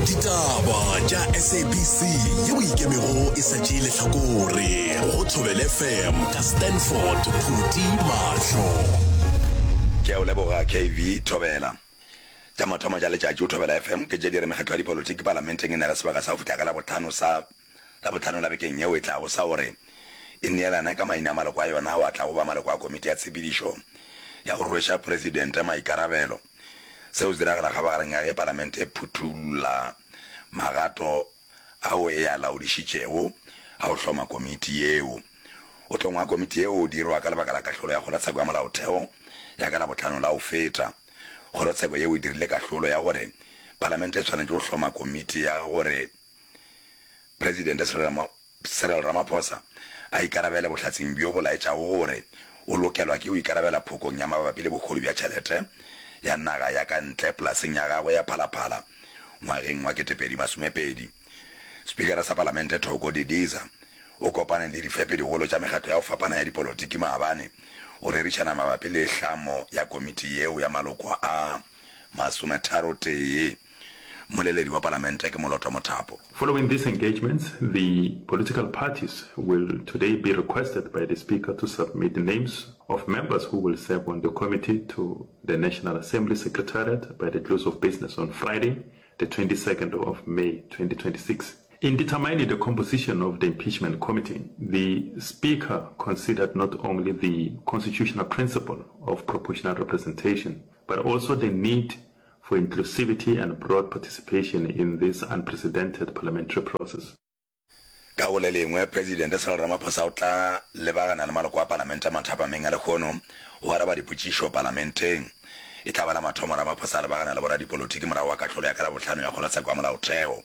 Ditaba tša SABC yeo e ikemego e sa tšee lehlakore go Thobela FM ka Stanford Phuti Mahlo. Ke a o leboga KV Thobela. Tša mathomo tša letšatši go Thobela FM ke tše di re mekgatlo ya dipolotiki palamenteng e na le sebaka sa go fihla ka Labohlano sa Labohlano la bekeng yeo e tlago sa gore e neelane ka maina a maloko a yona ao a tlago ba maloko a komiti ya tshepedišo ya go rweša presidente maikarabelo. Seo se diragala kgabagareng ya ge palamente e phuthulla magato ao e a laodišitšego a go hloma komiti yeo. Go hlongwa ga komiti yeo go dirwa ka lebaka la kahlolo ya Kgorotsheko ya Molaotheo ya ka Labohlano la go feta. Kgorotsheko yeo e dirile kahlolo ya gore palamente e swanetše go hloma komiti ya gore Presidente Cyril Ramaphosa a ikarabele bohlatseng bjo bo laetšago gore o lokelwa ke go ikarabela phokong ya mabapi le bohodu bja tšhelete ya naga ya ka ntle polaseng ya gagwe ya Phalaphala ngwageng wa 2020. Spikara sa Palamente Thoko Didiza o kopane le difepedigolo tša mekgatlo ya go fapana ya dipolotiki maabane go rerišana mabapi le hlamo ya komiti yeo ya maloko a masometharotee. Mmoleledi wa Palamente ke Moloto Mothapo. Following these engagements, the political parties will today be requested by the Speaker to submit names of members who will serve on the committee to the National Assembly Secretariat by the close of business on Friday, the 22nd of May 2026. In determining the composition of the impeachment committee, the Speaker considered not only the constitutional principle of proportional representation, but also the need for inclusivity and broad participation in this unprecedented parliamentary process. Ka go le lengwe, Presidente Cyril Ramaphosa o tla lebagana le maloko a Palamente mathapameng a lehono go araba dipotšišo Palamenteng. E tla ba la mathomo Ramaphosa a lebagana le boradipolotiki morago ga kahlolo ya ka Labohlano ya Kgorotsheko ya Molaotheo.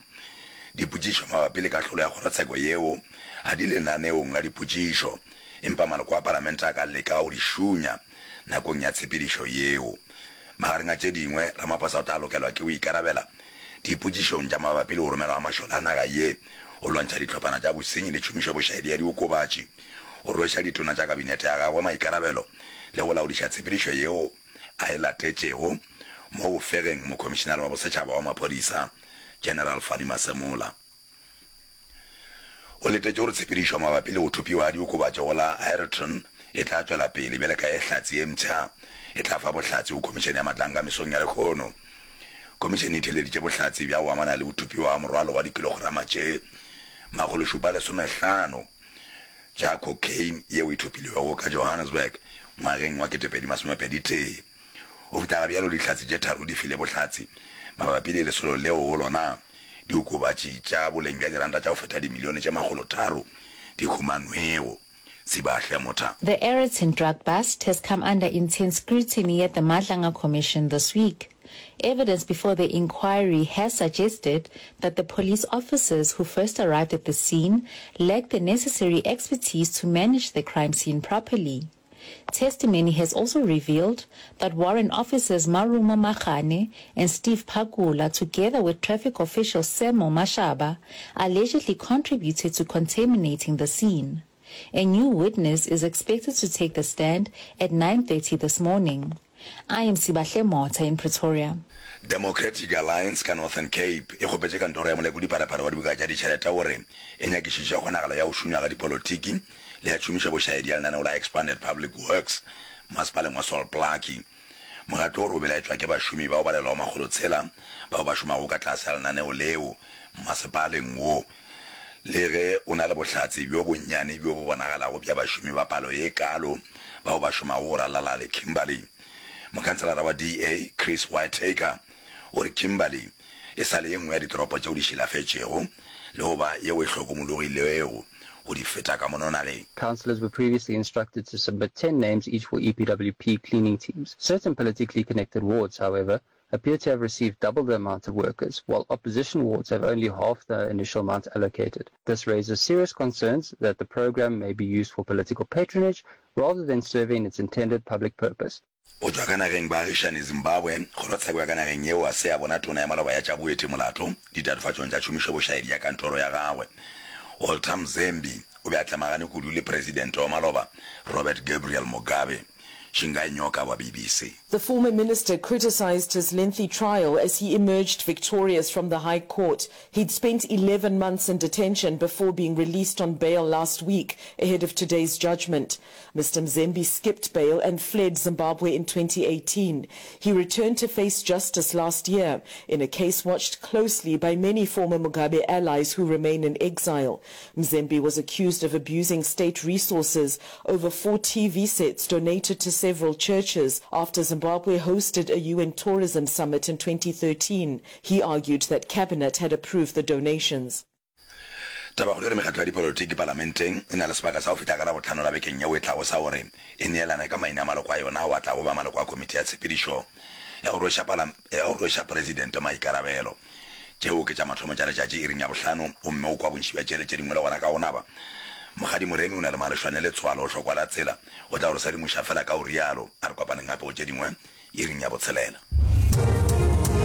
Dipotšišo mabapi le kahlolo ya kgorotsheko yeo ga di lenaneong la dipotšišo, empa maloko a Palamente a ka leka go di šunya nakong ya tshepedišo yeo. Magareng a tše dingwe, Ramaphosa o tla lokelwa ke go ikarabela dipotšišong tša mabapi le go romelwa ga mašole a naga ye go lwantšha dihlophana tša bosenyi le tšhomišobošaedi ya diokobatši, go rweša ditona tša kabinete ya gagwe maikarabelo le go laodiša tshepedišo yeo a e latetšego mo go fegeng Mokhomišenare wa Bosetšhaba wa Maphodisa, General Fannie Masemola. O letetše gore tshepedišo mabapi le go thopiwa ga diokobatši go la Aeroton e tla tšwela pele bjale ka ge hlatse ye mpsha e tla fa bohlatse go Khomišene ya Matlanga mesong ya lehono. Khomišene e theeleditše bohlatse bja go amana le go thopiwa ga morwalo wa dikilograma tše 715 tša cocaine yeo e thopilwego ka Johannesburg ngwageng wa 2021. Go fihla ga bjalo Dihlatse tše tharo di file bohlatse mabapi le lesolo leo go lona diokobatši tša boleng bja diranta tša go feta dimilione tše makgolotharo di humanwego. Sibahle Motha. The Aeroton drug bust has come under intense scrutiny at the Madlanga Commission this week. Evidence before the inquiry has suggested that the police officers who first arrived at the scene lacked the necessary expertise to manage the crime scene properly. Testimony has also revealed that warrant officers Marumo Magane and Steve Pakula, together with traffic official Semo Mashaba, allegedly contributed to contaminating the scene. A new witness is expected to take the stand at 9.30 this morning. I am Sibahle Motha in Pretoria. Democratic Alliance ka Northern Cape e kgopetše kantoro ya molekodi-pharephare wa dibuka tša ditšhelete gore e nyakišiše kgonagalo ya go šunywa ga dipolotiki le ya tšhomišobošaedi ya lenaneo la Expanded Public Works masepaleng wa Sol Plaatje. Mokgatlo o re o belaetšwa ke bašomi bao balelwago makgolotshela bao ba šomago ka tlase ga lenaneo leo masepaleng wo, le ge o na le bohlatse bjo bonnyane bjo bo bonagalago bja bašomi ba palo ye kaalo bao ba šomago go ralala le Kimberley. Mokhanselara wa DA, Chris Whitaker, o re Kimberley e sa le ye nngwe ya ditoropo tšeo di šilafetšego le go ba yeo e hlokomologilego go di feta ka mono nageng. Councillors were previously instructed to submit 10 names each for EPWP cleaning teams. Certain politically connected wards, however, appear to have received double the amount of workers, while opposition wards have only half the initial amount allocated. This raises serious concerns that the program may be used for political patronage rather than serving its intended public purpose. Go tšwa ka nageng baagišani Zimbabwe, kgorotsheko ya ka nageng yeo ga se ya bona tona ya maloba ya tša boeti molato ditatofatšong tša tšhomišobošaedi ya kantoro ya gagwe. Walter Mzembi o be a tlemagane kudu le presidente wa maloba Robert Gabriel Mugabe. Shingai Nyoka wa BBC. The former minister criticized his lengthy trial as he emerged victorious from the High Court. He'd spent 11 months in detention before being released on bail last week ahead of today's judgment. Mr. Mzembi skipped bail and fled Zimbabwe in 2018. He returned to face justice last year in a case watched closely by many former Mugabe allies who remain in exile. Mzembi was accused of abusing state resources over four TV sets donated to several churches after Zimbabwe hosted a UN tourism summit in 2013. He argued that cabinet had approved the donations. Tabakgolo e re mekgatlo ya dipolotiki palamenteng e na le sebaka sa go fihla ka Labohlano la bekeng yeo e tlago sa gore e neelane ka maina a maloko a yona ao a tlago ba maloko a komiti ya tshepedišo ya go rweša ya go rweša presidente maikarabelo. Tšeo ke tša mathomo tša letšatši iring ya bohlano gomme o kwa bontši bja tšele tše dingwe le gona ka go naba. Mokgadi Moremi o na le malešwane letswalo o hlokwa la tsela o tla go re sedimoša fela ka go rialo. A re kopaneng gape go tše dingwe iring ya botshelela.